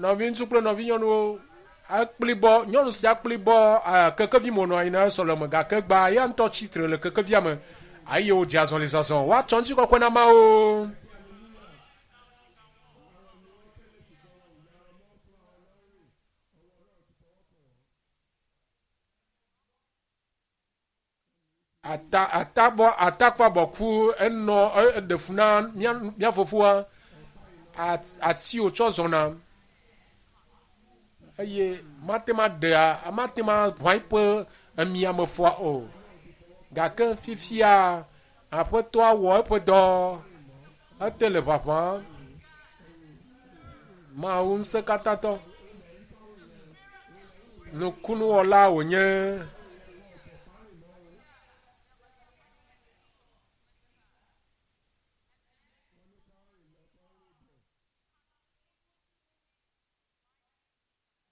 Nɔviŋutsu kple nɔvinyɔnuwo ekplibɔ nyɔnu sia kplibɔ kekevi me wònɔ anyi na sɔleme gake gba ya ŋutɔ tsitre le kekevia me eye wòdze azɔli zɔzɔ woatsɔ ŋutikɔkɔe na Mawu. Ata atabɔ atakpabɔku enɔ eɖe fu na mía mía fofoa ati wòtsɔ zɔna eye mate ma ɖea mate ma ʋã eƒe emiame fɔa o. Gake fifia aƒetɔa wɔ eƒe dɔ ete le ʋaʋã. Mawu ŋusẽkatãtɔ nukunuwɔla wònye.